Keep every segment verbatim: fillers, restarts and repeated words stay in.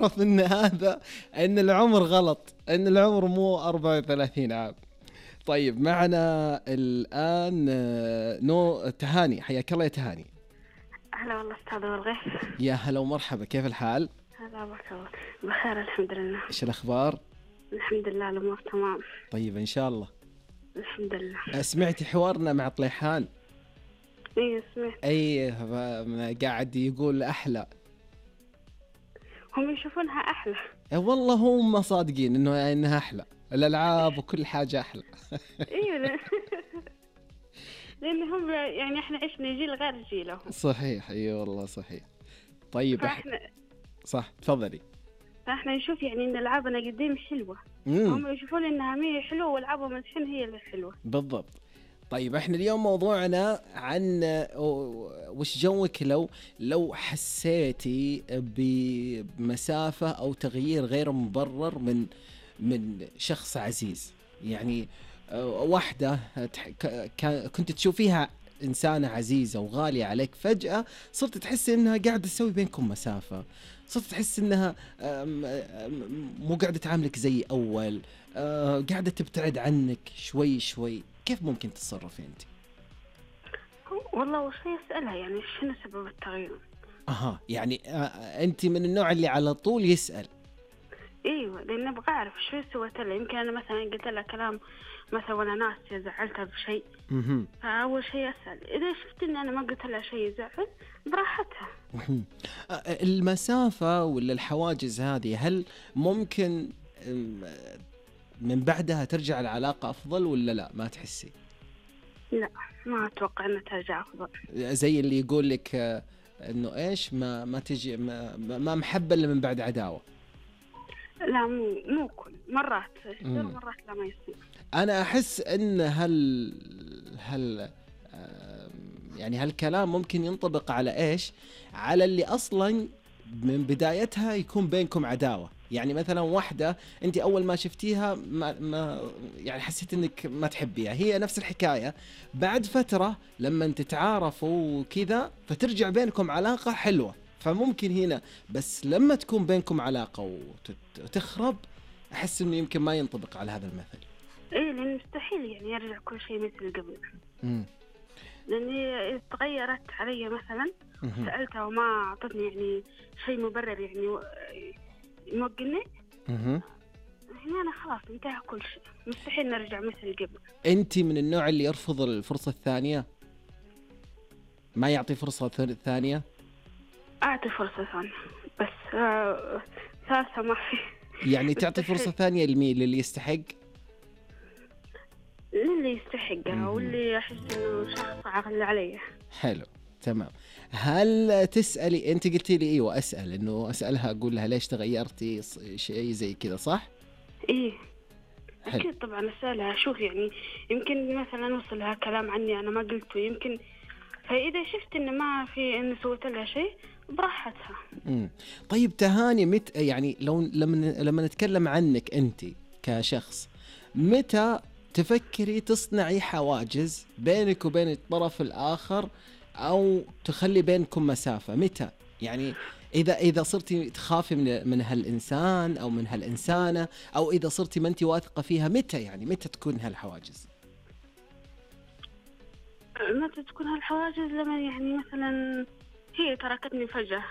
تعرف ان هذا ان العمر غلط، ان العمر مو أربعة وثلاثين عام. طيب معنا الآن نو تهاني، حياك الله يا تهاني. هلا والله أستاذ والغيث. يا هلا ومرحبا، كيف الحال؟ هلا بك الله بخير الحمد لله. ايش الأخبار؟ الحمد لله الأمور تمام. طيب إن شاء الله. الحمد لله. سمعتي حوارنا مع طليحان؟ ايه سمعت. اي قاعد يقول أحلى، هم يشوفونها أحلى. والله هم صادقين إنه إنها أحلى، الألعاب وكل حاجة أحلى. ايوه لأن هم يعني احنا عشنا جيل غير جيلهم. صحيح، اي والله صحيح. طيب فاحنا صح تفضلي. فاحنا نشوف يعني ان العابنا قديم حلوه، هم يشوفون انها مي حلوه والعابهم الحين هي اللي حلوه. بالضبط. طيب احنا اليوم موضوعنا عن وش جوك لو لو حسيتي بمسافة او تغيير غير مبرر من من شخص عزيز، يعني واحدة كنت تشوفيها إنسانة عزيزة وغالية عليك، فجأة صرت تحس إنها قاعدة تسوي بينكم مسافة، صرت تحس إنها مو قاعدة تعاملك زي أول، قاعدة تبتعد عنك شوي شوي، كيف ممكن تتصرفي أنت؟ والله وش يسألها يعني شنو سبب التغيير؟ أها يعني أنت من النوع اللي على طول يسأل. ايوه لان ابغى اعرف شو سويت لها، يمكن انا مثلا قلت لها كلام مثلا وانا ناسيه زعلتها بشيء، فاول شيء اسال، اذا شفت ان انا ما قلت لها شيء يزعل براحتها. المسافه ولا الحواجز هذه هل ممكن من بعدها ترجع العلاقه افضل ولا لا؟ ما تحسي؟ لا ما اتوقع انها ترجع افضل. زي اللي يقول لك انه ايش ما ما تجي ما, ما محبه الا من بعد عداوه. لا مو مو كل مرات يصير مرات لا ما يصير. أنا أحس إن هل هل يعني هالكلام ممكن ينطبق على إيش؟ على اللي أصلاً من بدايتها يكون بينكم عداوة، يعني مثلاً واحدة أنت أول ما شفتيها ما, ما يعني حسيت إنك ما تحبيها، هي نفس الحكاية بعد فترة لما تتعارفوا وكذا فترجع بينكم علاقة حلوة، فممكن هنا، بس لما تكون بينكم علاقة وتخرب أحس إنه يمكن ما ينطبق على هذا المثل. إيه لأن مستحيل يعني يرجع كل شيء مثل قبل. امم لأني تغيرت علي مثلا، سألتها وما أعطتني يعني شيء مبرر يعني موقني. امم هنا أنا خلاص انتهى كل شيء، مستحيل نرجع مثل قبل. أنت من النوع اللي يرفض الفرصة الثانية؟ ما يعطي فرصة ثانية؟ أعطي فرصة ثانية بس آه ثالثة ما في. يعني تعطي فرصة ثانية لمين؟ للي يستحق؟ للي يستحقها واللي أحس إنه شخص عاقل عليه. حلو تمام. هل تسألي أنت قلتي لي إيه وأسأل إنه أسألها أقول لها ليش تغيرتي شيء زي كذا صح؟ إيه أكيد طبعا أسألها، شوف يعني يمكن مثلا وصلها كلام عني أنا ما قلته، يمكن فإذا شفت إنه ما في إنه سويت لها شيء براحتها. امم طيب تهاني مت يعني لو لما لما نتكلم عنك أنت كشخص، متى تفكري تصنعي حواجز بينك وبين الطرف الآخر أو تخلي بينكم مسافة؟ متى يعني إذا إذا صرتي تخافي من من هالإنسان أو من هالإنسانة، أو إذا صرتي ما أنت واثقة فيها، متى يعني متى تكون هالحواجز؟ متى تكون هالحواجز لما يعني مثلا هي تركتني فجأة.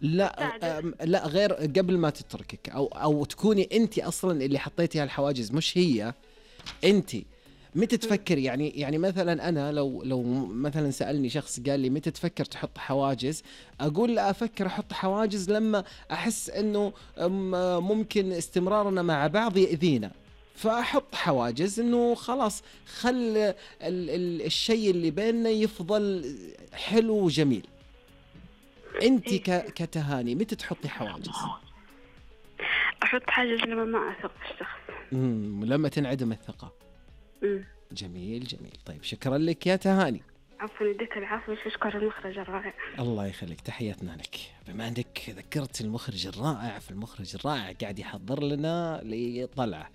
لا لا غير قبل ما تتركك، أو أو تكوني أنت أصلا اللي حطيتي هالحواجز مش هي. أنت متى تفكر يعني يعني مثلا أنا لو لو مثلا سألني شخص قال لي متى تفكر تحط حواجز، أقول لا أفكر أحط حواجز لما أحس إنه ممكن استمرارنا مع بعض يأذينا، فأحط حواجز إنه خلاص خل ال ال الشيء اللي بيننا يفضل حلو وجميل. أنت كتهاني متى تحطي حواجز؟ أحط حاجز لما ما أثق في الشخص. امم لما تنعدم الثقة. امم جميل جميل. طيب شكرا لك يا تهاني. عفوا يديك العافية، أشكر المخرج الرائع. الله يخليك، تحياتنا لك. بما أنك ذكرت المخرج الرائع، في المخرج الرائع قاعد يحضر لنا لطلعة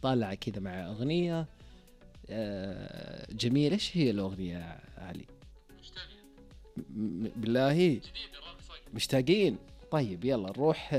طالعة كذا مع أغنية جميلة. إيش هي الأغنية يا علي؟ مشتاقين بالله، مشتاقين. طيب يلا نروح